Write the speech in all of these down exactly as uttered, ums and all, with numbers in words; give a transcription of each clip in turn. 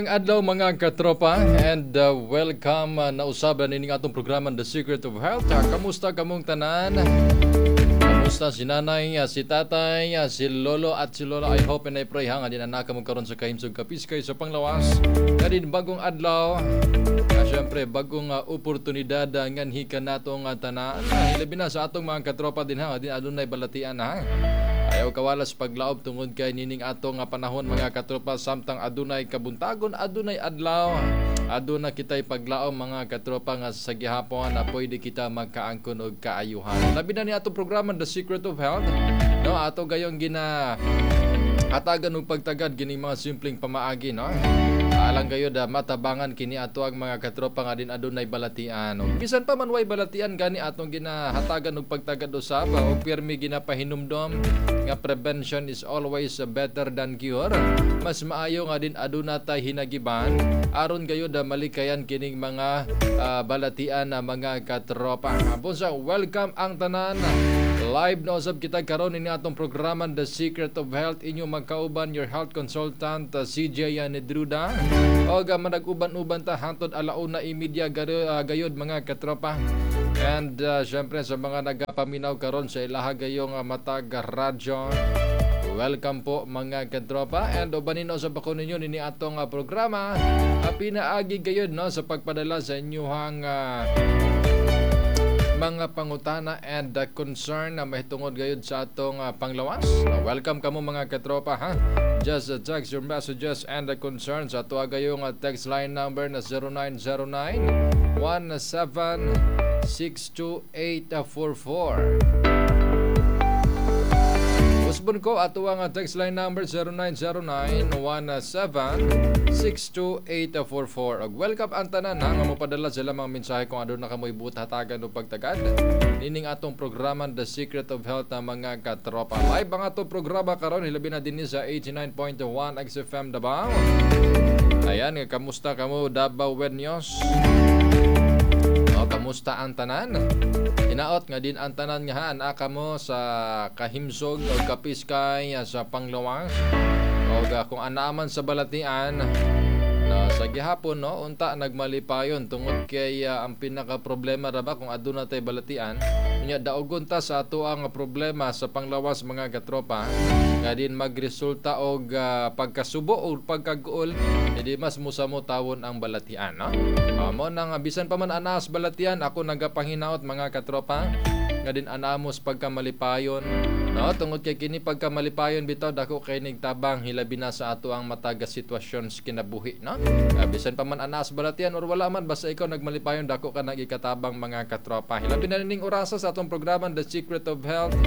Maayong adlaw, mga katropa, and uh, welcome uh, na usab nining atong programa, The Secret of Health. Uh, kamusta kamong tanan? Kamusta si nanay, uh, si tatay, uh, si lolo at si lola? I hope and I pray ha nga din na kamo karon sa kahimsog, kapiskay sa panglawas. Kadin bagong adlaw. Uh, Siyempre, bagong uh, oportunidad uh, nganhi kanato nga tanan. Uh, hilabi na sa atong mga katropa din ha, din adunay balatian ha. Ayaw kawalas paglaob tungod kay nining ato nga panahon, mga katropa, samtang adunay kabuntagon, adunay adlaw. Aduna kitay paglaom, mga katropa, nga sa gihapon na pwede kita magkaangkon og kaayuhan. Labi na ni atong programa, The Secret of Health. No, ato gayong gina hatagan og pagtagad kining mga simpleng pamaagi, no. Alang gayod ah, matabangan kini ato ang mga katropa nga din adunay balatian. Og bisan pa man way balatian gani, atong ginahatagan og pagtagad usab og pirmi ginapahinumdom nga prevention is always better than cure. Mas maayo nga din aduna tay hinagiban aron gayod ah, malikayan kining mga ah, balatian na, mga katropa. Busa welcome ang tanan. Live na usab kita karon ini atong programa, The Secret of Health. Inyo magkauban, your health consultant, uh, C J Nedruda. O uh, manag-uban-uban ta hangtod alauna imedya uh, gayod, mga katropa. And uh, syempre sa mga nagapaminaw karon sa ilaha gayong uh, matag radyo, welcome po, mga katropa, and ubanin sa bako ninyo nini atong uh, programa uh, pinaagi gayod, no, sa pagpadala sa inyuhang uh, mga pangutana and uh, concern na mahitungod gayud sa atong uh, panglawas. Uh, welcome kamo, mga katropa, ha. Just uh, text your messages and the concerns sa ato gayong uh, text line number na zero nine zero nine one seven six two eight four four. Usbon ko ato ang text line number zero nine zero nine one seven six two eight four four. Og welcome ang tanan ha nga mopadala sila mga mensahe kung aduna kamoy buot hatagan og pagtagad nining atong programa, The Secret of Health, na mga katropa. Live ang atong programa karon, hilabi na dinhi sa eighty-nine point one X F M Davao. Ayan, kamusta kamo, Davaoeños? O, kamusta ang tanan? Hinaot nga din ang tanan nga haan kamo sa kahimsog o kapiskay sa panglawas. O kung anaaman sa balatian, na sa gihapon, no, unta nagmalipayon tungod kay uh, ang pinaka problema ra ba kung aduna tay balatian nya, daugon ta sa ato ang problema sa panglawas, mga katropa, nga din magresulta og uh, pagkasubo o pagkaguol, edi mas musamo tawon ang balatian, no. Uh, mo nang bisan pa man anas balatian, ako nagapanginaot, mga katropa, nga din anamos pagkamalipayon, no, tungod kay kini pagkamalipayon bitaw dako kay tabang, hilabi na sa ato ang mataga sitwasyon sa kinabuhi, no. uh, bisan pa man anas balatian or wala man, basta ikaw nagmalipayon, dako ka nagikatabang, mga katropa, hilabi na ning orasa sa atong programa, The Secret of Health.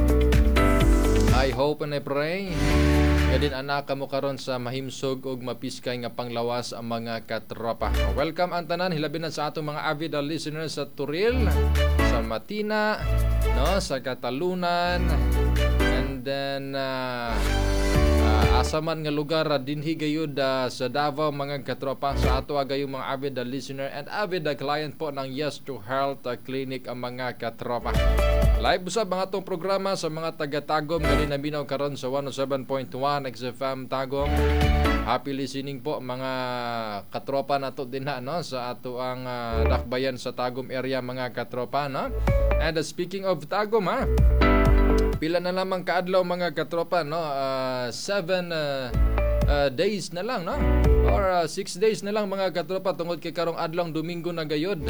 I hope and I pray nga din anak kamo karon sa mahimsog og mapiskay nga panglawas ang mga katropa. Welcome ang tanan, hilabi na sa atong mga avid listeners sa Toril, sa Matina, no, sa Catalunan, and then uh, uh, asa man nga lugar uh, dinhi gayud uh, sa Davao, mga katropa, sa ato gayong mga avid uh, listener and avid uh, client po ng Yes to Health uh, Clinic ang mga katropa. Live usab ang atong programa sa mga taga-Tagum gani naminaw karon sa one oh seven point one X F M Tagum. Happy listening po, mga katropa nato dinha, no, sa ato ang uh, dakbayan sa Tagum area, mga katropa, no. And uh, speaking of Tagum ha, pila na lamang kaadlaw, mga katropa, no, uh, seven uh, uh, days na lang, no, or uh, six days na lang, mga katropa, tungod kay karong adlong Domingo na gayod.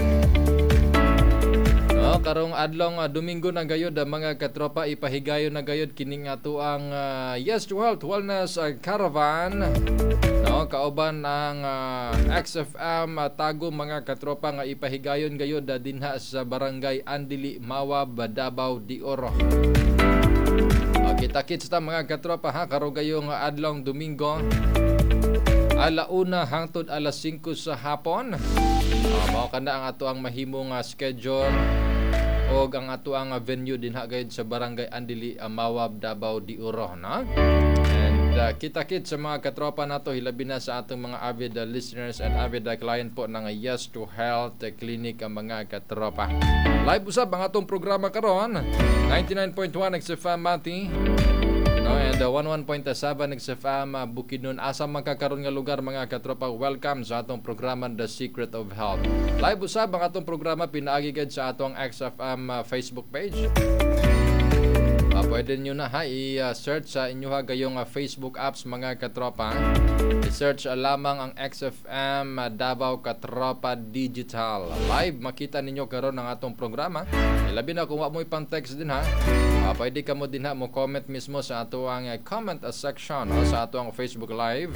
No, karong adlong uh, Domingo na gayod, uh, mga katropa, ipahigayon na gayod kining ato ang uh, Yes to Health Wellness uh, Caravan. No, kauban ang uh, X F M uh, Tagum, mga katropa, nga ipahigayon gayod uh, dinha sa Barangay Andili, Mawab, Davao de Oro. Uh, kita-kits ta, mga katropa, ha, karong gayong adlong Domingo, alauna hangtod alas singko sa hapon. Uh, mao kana ang ato ang mahimong uh, schedule og ang ato ang venue dinha gayud sa Barangay Andili, Mawab, Davao de Oro, no? And uh, kita-kit sa mga katropa nato, hilabi na sa atong mga avid uh, listeners and avid uh, client po ng Yes to Health Clinic ang mga katropa. Live usab ang atong programa karon, ninety-nine point one X F M Mati. No, No, and uh, one oh one point seven X F M uh, Bukidnon. Asa man ka karon nga lugar, mga katropa, welcome sa atong programa The Secret of Health. Live usab ang atong programa pinaagi gid sa atong X F M uh, Facebook page. Uh, pwede nyo na ha i-search sa inyo ha gayong uh, Facebook apps, mga katropa. I-search uh, lamang ang X F M uh, Davao Katropa Digital. Live makita ninyo karon ang atong programa. Ilabi na kung wa mo pang text din ha. Uh, pwede ka mo din ha mo comment mismo sa ato ang uh, comment uh, section uh, sa ato ang Facebook Live.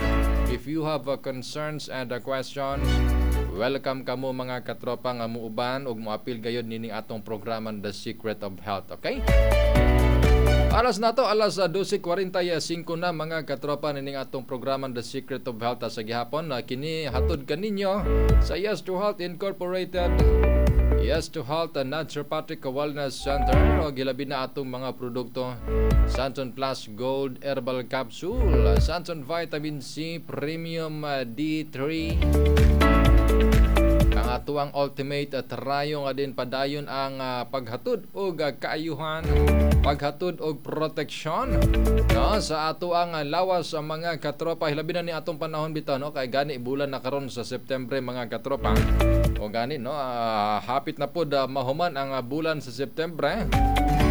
If you have uh, concerns and uh, questions, welcome kamo, mga katropa, nga muuban ug moapil gayod nining atong programa The Secret of Health. Okay? Alas na to, alas dose kwarenta y singko na, mga katropa, nining atong programa The Secret of Health sa gihapon na kini hatod kaninyo sa Yes to Health Incorporated. Yes to Health and Naturopathic Wellness Center o gilabi na atong mga produkto Santon Plus Gold Herbal Capsule, Santon Vitamin C Premium D three, ang atuang ultimate at rayo nga din padayon ang uh, paghatod og uh, kaayuhan, paghatod og proteksyon, no, sa atuang uh, lawas sa mga katropa, hilabi na ni atong panahon bitaw, no, kay gani bulan na karon sa September, mga katropa, o gani, no, uh, hapit na pod uh, mahuman ang uh, bulan sa September.